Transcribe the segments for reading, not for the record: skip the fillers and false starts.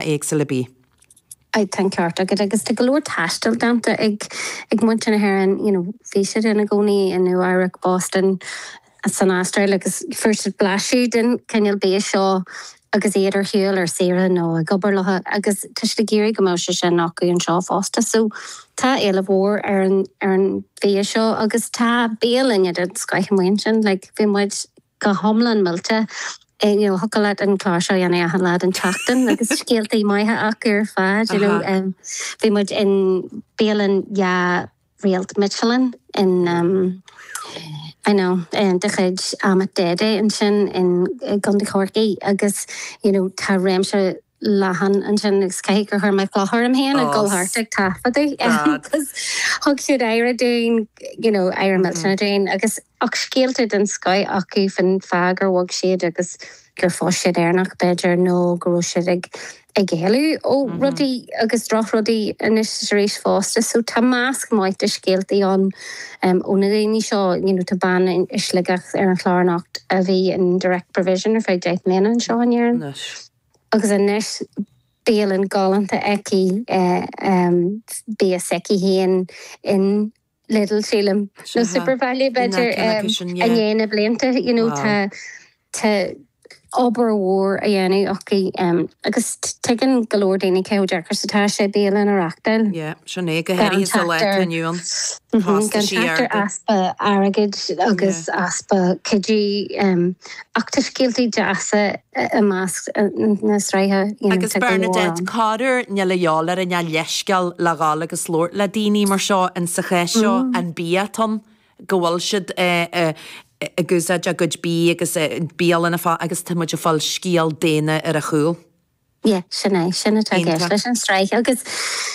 Éagsúla bídh. Aye, tá an ceart agat agus tá go leor taistil déanta ag ag muintir na hÉireann, you know, bhí siad ina gcónaí i Nua Eabhrac, Boston, san Astráil agus fuair siad blaiseadh den chineál bia seo agus iad ar shiúl ar saoire nó ag obair leo agus tá siad ag iarraidh go mbeadh sé sin acu anseo fosta. So tá éileamh mhór ar an ar an bhia seo agus tá bialanna den scoith amuigh ansin, like bhí muid go hiomlán millte. You know, thiocfadh leat an clár seo a dhéanamh achan lá den tseachtain agus scéaltaí maithe acu ar fad, you know. Bhí muid in bialann dhá réalt Michelin in um, I know, de chuid Ahmet Dede ansin in i gContae Chorcaí agus you know, tá réimse leathan ansin agus caithfidh gur chuir mé cloch orm féin ag dul thart ag taifeadadh agus thug siad aire dúinn, you know, aire millteanach dúinn agus ach scéalta den scoith acu faoin fáth gur bhog siad agus gur phós siad Éireannach b'fhéidir nó go raibh siad ag ag éalú ó rudaí agus drochrudaí anois is arís fosta. So tá measc maith de scéaltaí ann ó na daoine seo, you know, tá bean i Sligeach ar an chlár anocht a bhí in direct provision ar feadh 10 mbliana anseo in Éirinn. Agus anois bialann galánta aici, bia s'aici féin in Lidl, sílim, nó Supervalu b'fhéidir, i ndiaidh na blianta, you know, tá, tá obair mhór á dhéanamh acu agus tuigeann go leor daoine cé chomh deacair is atá sé bialann a reachtáil. Yeah, sin é, go háirithe sa lá atá inniu ann. Gan trácht ar easpa airgid agus easpa cuidiú ach tá scéaltaí deasa i measc na sraithe, you know, Agus tá go leor Bernadette, ann. corruair níl a dhíobháil orainn ach leithscéal le dhul agus labhairt le daoine mar seo in sa chás seo an bia atá ann, go bhfuil siad ag úsáid a gcuid bídh agus bialanna fá agus tá muid ag fáil scéal daonna ar a chúl. Yeah, sin é, sin atá i gceist leis an tsraith agus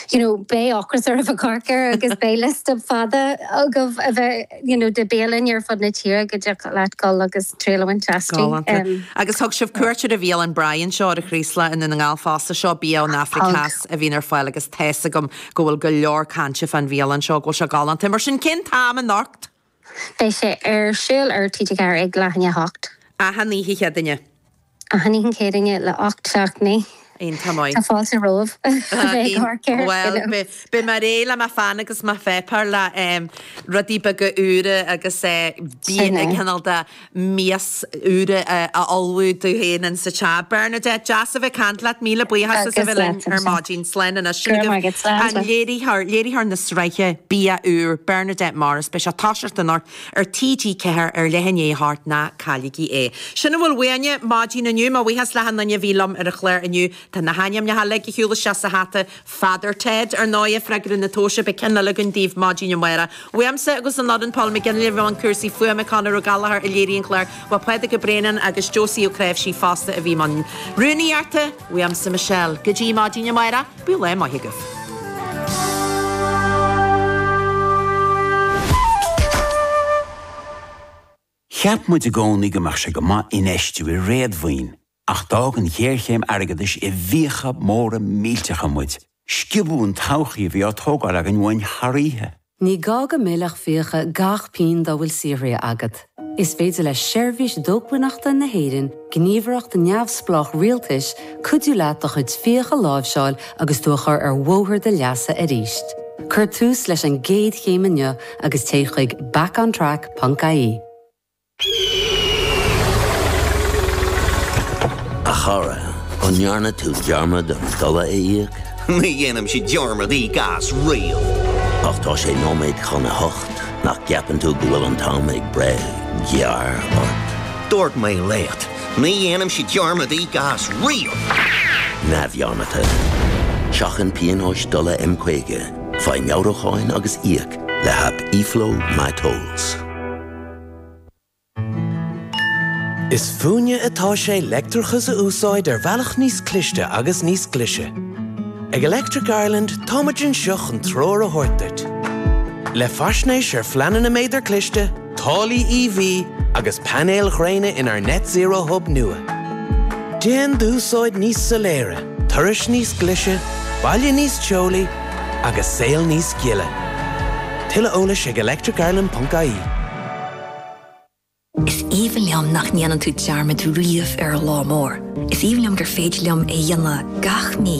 you know beidh ocras oraibh ag amharc air agus beidh liosta fada agaibh a bheith you know de bialanna ar fud na tíre go dtiocfadh leat dul agus triail a bhaint astu. Galánta. Agus thug sibh cuairt ar an bhialann Brian seo ar an Chraoslach i nDún na nGall fosta. Seo bia ón Afraic Theas a bhíonn ar fáil agus tá's agam go bhfuil go leor cainte fán bhialann seo, go bhfuil sé galánta. Mar sin cén t-am anocht? Beidh sé ar siúl ar TG4 ag leath i ndiaidh a hocht. Achan oíche Chéadaoine. Achan oíche Chéadaoine le 8, 7, 9. Iontach maith. Tá fáilte romhaibh a bheith ag amharc air. Bhuel, beidh mé réidh le mo pheann agus mo pháipéar le rudaí beaga úra agus bia cineál de mias úra a ullmhú domh féin insa teach. Bernadette, deas a bheith ag caint leat. Míle buíochas as a bheith linn ar maidin. Slán anois. Sin agaibh an léiritheoir, léiritheoir na sraithe Bia Úr, Bernadette Morris. Beidh sé ag toiseacht anocht ar TG4 ar leath i ndiaidh a hocht, ná cailligí é. Sin a bhfuil uainne maidin inniu. Mo bhuíochas le hachan duine a bhí liom ar an chlár inniu. Tá na hainmneacha uilig ag siúl isteach sa hata. Father Ted, ar ndóighe, freagra na tomhaise, beidh ceann eile againn daoibh maidin amárach. Uaimse agus an fhoireann, Paul McGinley, i mbun cúrsaí fuaime, Conor Ó Gallchóir a léirigh an clár, bhuel Pádraig Ó Braonáin agus Josie Ó Cnáimhsí fosta a bhí i mbun rúnaíochta, uaimse Michelle. Go dtí maidin amárach, bíodh lá maith agaibh. Cheap muid i gcónaí go mbeadh sé go maith infheistiú i réadmhaoin, ach d'fhág an ghéarchéim airgeadais i bhfiacha móra millteacha muid. Sciobadh an todhchaí a bhí á tógáil againn uainn thar oíche. Ní gá go millfeadh fiacha gach pingin dá bhfuil saothraithe agat. Is féidir le Seirbhís Dócmhainneachta na hÉireann, gníomhaireacht neamhspleách rialtais, cuidiú leat do chuid fiach a láimhseáil agus tú a chur ar bhóthar do leasa arís. Cuir tús leis an gcéad chéim inniu agus téigh chuig backontrack.ie. A chara, an ndearna tú dearmad an dola a íoc? Ní dhéanaimse dearmad íoc as riamh. Ach tá sé nóiméad chun a hocht, nach gceapann tú go bhfuil an t-am ag breith gearr ort? Dúirt mé leat, ní dhéanaimse dearmad íoc as riamh! Neamhdhearmadta. Seachain pionóis dola M50, faigh meabhrúcháin agus íoc le haip eFlow MyTolls. Is fúinne atá sé leictreachas a úsáid ar bhealach níos cliste agus níos glaise. Ag Electric Ireland táimid anseo chun treoir a thabhairt duit. Le faisnéis ar phleananna méadar cliste, táillí EV agus painéil ghréine inár Net Zero Hub nua. Déan d'úsáid níos soiléire, turais níos glaise, baile níos teolaí agus saol níos gile. Tuilleadh eolais ag electricireland.ie. Is aoibhinn liom. liom nach ndéanann tú dearmad riamh ar an lá mór. Is aoibhinn liom gur féidir liom é a dhéanamh gach mí.